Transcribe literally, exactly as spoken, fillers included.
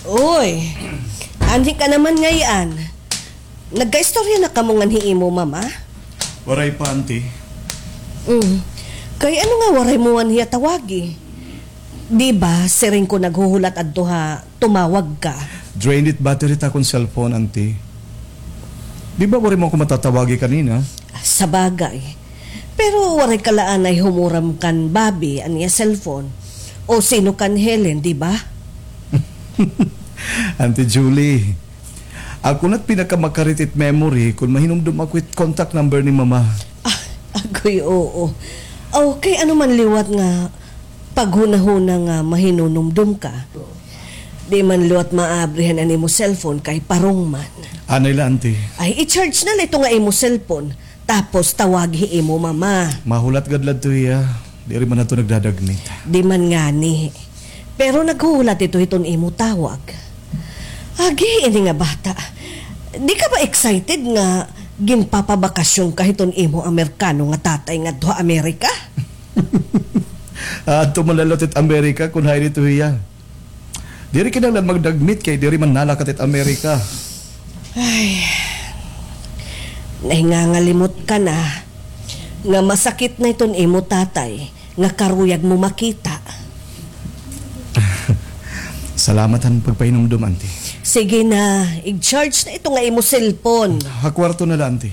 Uy, anhi ka naman ngay-an. Nagkaistorya na kamo ngan hi imo mama? Waray pa, Auntie. Mm. Kay ano nga waray mo man hiya tawagi? Di ba, siring ko naghuhulat adto ha tumawag ka? Drained it battery it akon cellphone, Auntie. Di ba waray mo ako matatawagi kanina? Sabagay. Pero waray ka la anay humuram kan Bobby an iya cellphone. O sino kan Helen, di ba? Auntie Julie, ako na't pinakamakarit it memory kon mahinumdom ako it contact number ni Mama. Ah, agoy, oo. Aw, kay ano man liwat nga paghunahuna nga mahinunumdom ka, di man liwat maabrihan an imo cellphone kay parong man. Anay la, Auntie. Ay, i-charge na la ito nga imo cellphone. Tapos tawagi hi imo mama. Mahulat gad la adto hiya. Diri man adto nagdadagmit. Di man ngani. Pero naghuhulat ito hiton imo tawag. Agi ini nga bata. Di ka ba excited nga ginpapabakasyon ka hiton imo Amerikano nga tatay ngadto ha Amerika? Adto man la liwat it Amerika kon hain ito hiya. Diri kinahanglan magdagmit kay diri man nalakat it Amerika. Ay, nahingangalimot ka na nga masakit na iton imo tatay nga karuyag mo makita. Salamat han pagpahinumdom, Auntie. Sige na, i-charge na ito nga imo cellphone. Ha kwarto na la, Auntie.